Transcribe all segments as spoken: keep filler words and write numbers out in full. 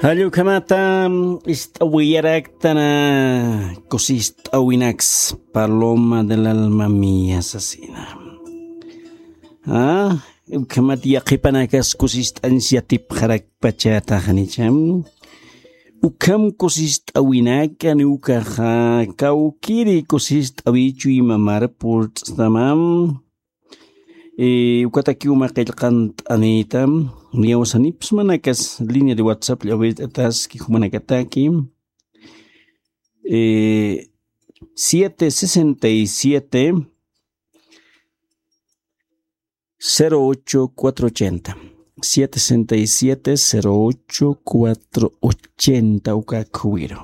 Jallukhamata ist'awiyaraktana kusist'awinaks, paloma del alma mía sasina. Ah, ukhamat yaqhipanakas kusist'añs yatipxarakpachataxanicham. Ukham kusist'awinakani ukaxa kawkiri kusist'awichu imamar purt'stamam. Eh, ukatakiw mä qillqant'anïta, niyawsanipsmanakas línea de WhatsApp llawirt'ataski jumanakataki. Eh, siete sesenta y siete, cero ocho cuatro ochenta. Siete sesenta y siete, cero ocho cuatro ochenta uka khuwiru.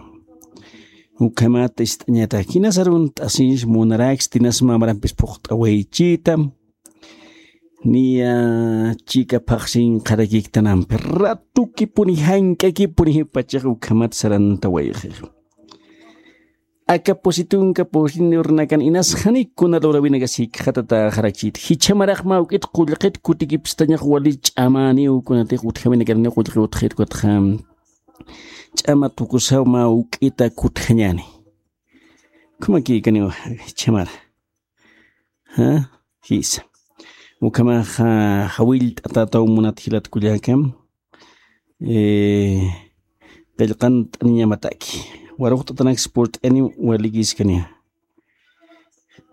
Ukhamat ist'añatak jinas arunt'asiñs munaraksti, jinas mä marampis phuqt'awaychita. Niya chika phaxsin qharakiktanampi, ratukipuni jank'akipuni jipachax ukhamat sarantawayxi. Aka pusi tunka pusin urnakan inas janik kuna lurawinakas jikxatataxarakchit. Jichhamaraq mä juk'it qullqit kutikipstañax wali ch'amäniw kunatix utjawinakaraniw qullqi utjit ukatxa. Ch'ama tukusaw mä juk'ita kutjañäni. Khumakïkaniw jichhamara. ¿Ah? Jisa. Ukhamaxa jawillt'atätaw munat jilat kullaka. Eh, qillqant'aniñamataki. Waruqt'atanaks purt'ani walikiskani.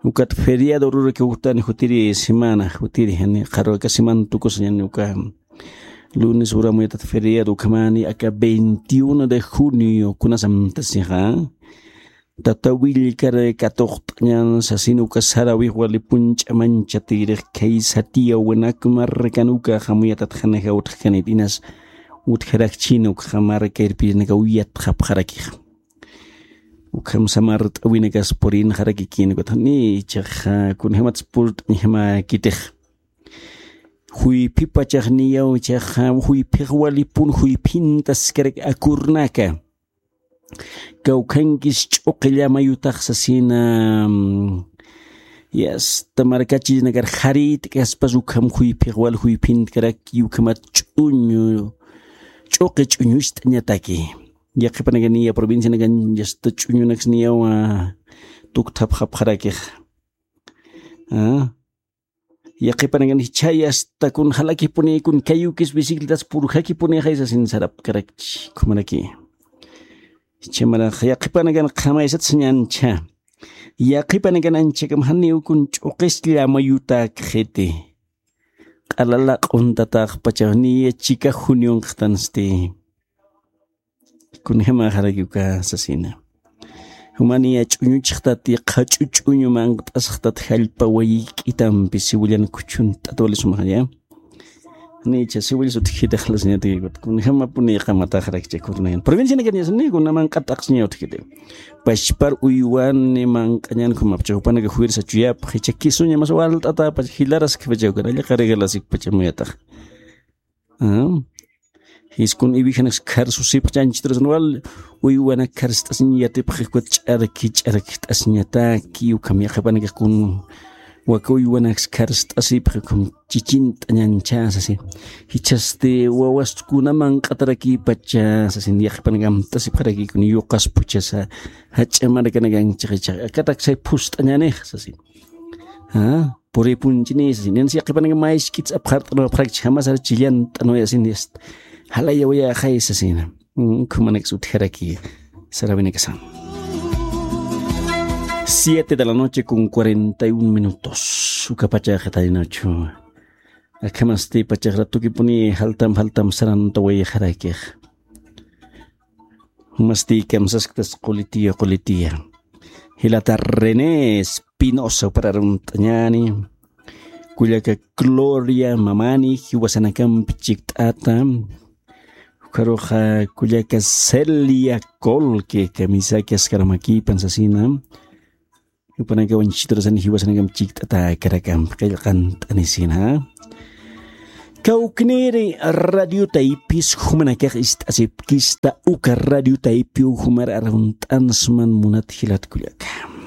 Ukat feriado ururaki uktani jutiri semana, jutiri, jani qharwaka semana tukusañani uka lunes uramuyatat feriado ukhamani aka veintiuno de junio kunasamtasixa. Tata Willkar katuqt'añan sasin uka sarawix wali punch'a manchatirix khay satiyaw winak markan uka jamuyatat janaja utjkanit inas utjarakchin ukxa marka irpirinakaw yatxapxarakix. Ukham samart'awinakas purinxarakikin ukat jani ichaxa kunjämats purt'añjamäkitix. Juyphipachax niyaw ichaxa juyphix walipun juyphintaskarak akurnaka. Kawkhankis ch'uqi llamayutax sasina, mm, yasta markachillanakar jarïtkaspas ukham juyphix wal juyphintkarak ukhamat ch'uñu, ch'uqi ch'uñucht'añataki. Yaqhipanakaniya provincianakan yasta ch'uñunaks niyawa tukthapxapxarakix. Ah. Yaqhipanakan jichhay asta kun jalakipuni kun kayukis bicicletas purjakipunixay sasin sarapkarakchi khumaraki. Jichhamarax yaqhipanakan qhamaysat sañancha. Yaqhipanakan anchakam janiw kun ch'uqis llamayutakxiti. Q'alala q'untataxpacha niya chika junionqtansti. Kunjamaxaraki uka sasina. Jumaniya ch'uñuchxtati qhach'u ch'uñu manqt'asxtat jallpa wayik'itampi siwillan khuchunt'at wali sumaxaya. Nicha siwillas utjkitaxlasañatakikut kunjamapuni qamataxarakcha kurnayan provincianakan yasani kuna manq'at t'aqsiña utjkiti. Pachpar uywani manq'añan khumapcha jupanaka fuerza chuyapxi chakisuña mas walt'atapacha jilaraskpacha ukan allaqarigalasikpacha muyatax. Jiskun iwijanaks kharsusipxchanchiturasan wal uywanak kharst'asiñ yatipxi ukat ch'arki ch'arkt'asiñataki ukham yaqhipanakax kun waka uywanaks kharst'asipxi ukham chichint'añanchasasi. Jichhasti wawastkuna manq'atarakipacha sasin yaqhipanak amtasipxaraki kun yuqaspuchasa jach'a markanakan chiqichax akataksay phust'añanix sasin. Puripunchini sasin insi yaqhipanaka mayskits apxart'anwapxarakchi jamasar chillant'anwayasin. Jalayawayäxay sasina. Ukhamanaksa utjaraki sarawinakasan. Siete de la noche con cuarenta y un minutos ukapachaxa taynachu. Akhamasti pachaxra tukipuni jaltam jaltam sarantawayxarakix. Masti kamsasktas qulitiya qulitiya. Jilata René Espinosa upararumt'añani. Kullaka Gloria Mamani jiwasanakampi chikt'ata. Ukaruxa kullaka Celia Colque kamisaki askaramakïpan sasina. Jupanakawan chiturasani jiwasanakam chikt'ata karakampi qillqant'anisina. Kawkniri radio taypis jumanakax ist'asipkista uka radio taypiw jumar arunt'ansman munat jilatkullaka.